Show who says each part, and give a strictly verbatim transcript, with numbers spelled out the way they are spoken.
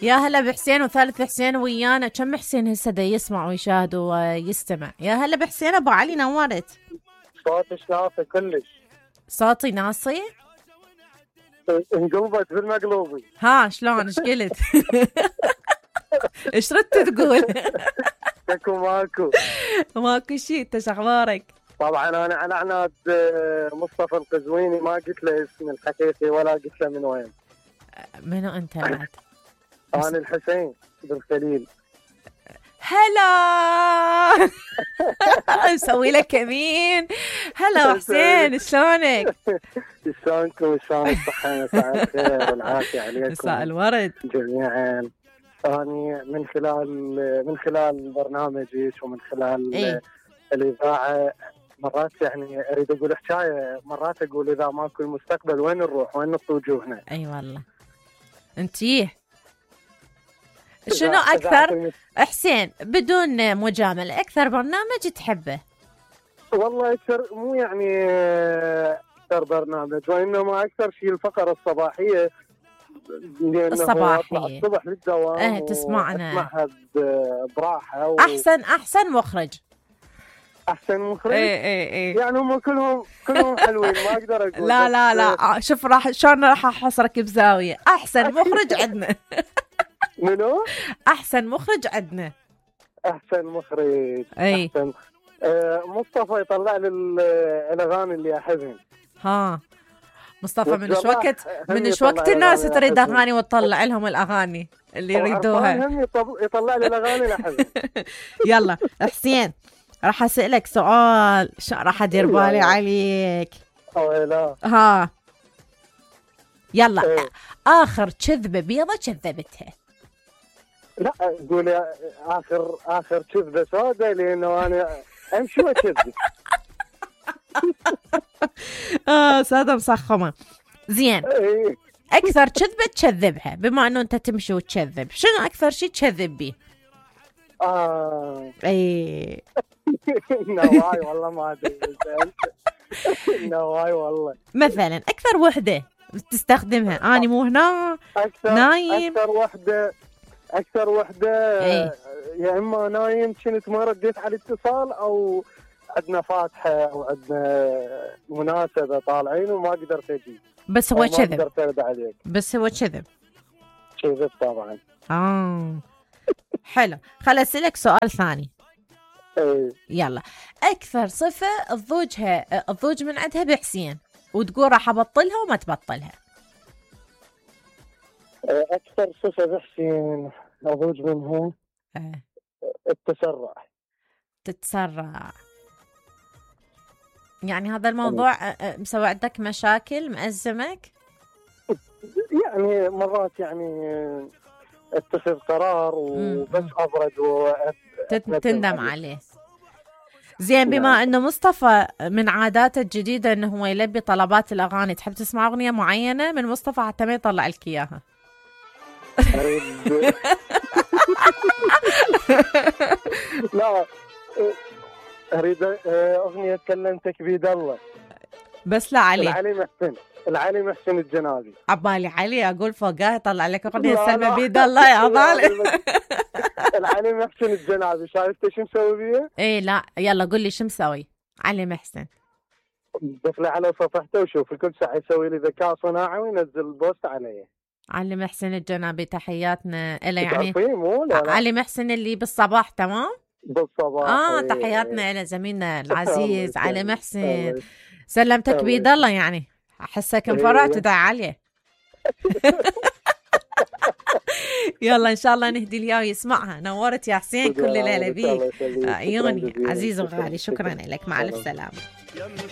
Speaker 1: يا هلا بحسين وثالث حسين ويانا. كم حسين هسه دا يسمع ويشاهد ويستمع؟ يا هلا بحسين ابو علي، نورت.
Speaker 2: صوتك ناصي كلش.
Speaker 1: صوتي ناصي؟
Speaker 2: انقلبت بالمقلوبي.
Speaker 1: ها شلون ايش قلت؟ ايش ردت تقول؟
Speaker 2: اكو ماكو
Speaker 1: ماكو شيء. انت شو اخبارك؟
Speaker 2: طبعا انا على عناد مصطفى القزويني، ما قلت له اسمي الحقيقي ولا قلت له من وين.
Speaker 1: منو انت بعد؟
Speaker 2: انا الحسين بالخليل.
Speaker 1: هلا نسوي لك كمين. هلا حسين، شلونك؟
Speaker 2: شلونكم؟ شلون الصحة؟ مساء الخير والعافية عليكم.
Speaker 1: مساء الورد
Speaker 2: جميعا. أنا من خلال من خلال برنامجك ومن خلال
Speaker 1: إيه؟
Speaker 2: الإذاعة مرات يعني أريد أقول حكاية، مرات أقول إذا ماكو المستقبل وين نروح؟ وين نطي وجوهنا؟
Speaker 1: أي أيوة والله. أنتيه شنو أكثر حسين بدون مجاملة أكثر برنامج تحبه؟
Speaker 2: والله أكثر مو يعني أكثر برنامج، وإنما أكثر شيء الفقرة الصباحية.
Speaker 1: الصباحية
Speaker 2: الصبح للدوام.
Speaker 1: اه تسمعنا
Speaker 2: اسمعها براحة و...
Speaker 1: أحسن أحسن مخرج.
Speaker 2: أحسن مخرج؟
Speaker 1: ايه ايه ايه
Speaker 2: يعني هم كلهم كلهم حلوين، ما أقدر أقول.
Speaker 1: لا لا لا شوف، راح شلون راح أحصرك بزاوية. أحسن مخرج عندنا.
Speaker 2: منو؟
Speaker 1: أحسن مخرج عندنا.
Speaker 2: أحسن مخرج.
Speaker 1: أي.
Speaker 2: أحسن آه مصطفى يطلع لي الأغاني اللي أحبهم.
Speaker 1: ها مصطفى من ايش وقت من ايش وقت الناس تريد اغاني وتطلع لهم الاغاني اللي يريدوها.
Speaker 2: هم يطلع لي الاغاني اللي احبها.
Speaker 1: يلا حسين، راح اسالك سؤال راح ادير بالي عليك.
Speaker 2: او لا
Speaker 1: ها يلا. ايه. اخر كذبه بيضه كذبتها؟
Speaker 2: لا قولي اخر اخر كذبه سوداء، لانه انا امشي واكذب.
Speaker 1: اه سادة مسخمة. زين، اكثر كذبة تكذبها بما انه انت تمشي وتكذب، شنو اكثر شيء تكذب بيه؟
Speaker 2: اه
Speaker 1: اي
Speaker 2: نواي والله ما ادري. نواي والله.
Speaker 1: مثلا اكثر وحدة تستخدمها. اني مو هنا
Speaker 2: أكثر
Speaker 1: نايم.
Speaker 2: اكثر وحدة اكثر وحدة
Speaker 1: ايه؟
Speaker 2: يا اما نايم كنت ما رديت على الاتصال، او عندنا فاتحة أو عندنا مناسبة طالعين وما قدرت أجي.
Speaker 1: بس هو كذب.
Speaker 2: ما قدرت أرد عليك.
Speaker 1: بس هو كذب.
Speaker 2: كذب طبعا.
Speaker 1: آه حلو. خل أسألك سؤال ثاني.
Speaker 2: ايه.
Speaker 1: يلا، أكثر صفة تضوجها تضوج من عندها بحسين وتقول راح أبطلها وما تبطلها؟
Speaker 2: أكثر صفة بحسين أضوج منها
Speaker 1: اه.
Speaker 2: التسرع.
Speaker 1: تتسرع. يعني هذا الموضوع مسوي عندك مشاكل مأزمك؟
Speaker 2: يعني مرات يعني اتخذ قرار وبس أبرد
Speaker 1: وتندم عليه. زين، بما أنه مصطفى من عاداته الجديدة أنه هو يلبي طلبات الأغاني، تحب تسمع أغنية معينة من مصطفى حتى ما يطلع لك إياها؟
Speaker 2: أريد لا أريد أغنية كلمتك بيد الله.
Speaker 1: بس لا علي.
Speaker 2: العلي محسن العلي محسن الجنابي.
Speaker 1: عبالي علي أقول فوقها طلع لك أغنية سلمى بيد الله يا ظالم.
Speaker 2: العلي محسن الجنابي، شايفته شو مسوي بيه؟
Speaker 1: إيه لا يلا قل لي شو مسوي علي محسن.
Speaker 2: دخلي على صفحته وشوف كل ساعة يسوي لي ذكاء صناعي وينزل البوست عليه.
Speaker 1: علي محسن الجنابي تحياتنا إله. يعني
Speaker 2: مو لا لا.
Speaker 1: علي محسن اللي بالصباح تمام؟
Speaker 2: بالصباح.
Speaker 1: اه تحياتنا إلى زميلنا العزيز علي محسن. سلمتك بيد الله. يعني احسك انفرعت تدعي عليه. يلا ان شاء الله نهدي لياه ويسمعها. نورت يا حسين، كل ليله بيك. عيوني عزيز وغالي، شكرا لك، مع الف سلامه.